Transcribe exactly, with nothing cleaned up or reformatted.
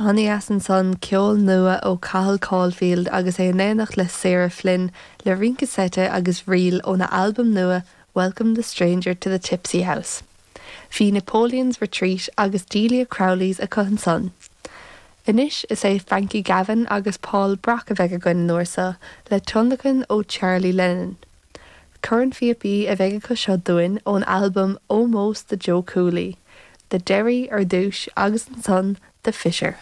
An-dheas ansan ceol nua ó Cathal Caulfield agus é in éineacht le Sarah Flynn le rince seite agus ríl óna albam nua Welcome the Stranger to the Tipsy House. Bhí Napoleon's Retreat agus Delia Crowley's acu ansan. Anois is é Frankie Gavin agus Paul Brock a bheidh againn an uair seo le tionlacan ó Charlie Lennon. Cornphíopaí a bheidh acu seo dúinn ón albam Ómós do Joe Cooley, The Derry ar dtús agus ansan The Fisher.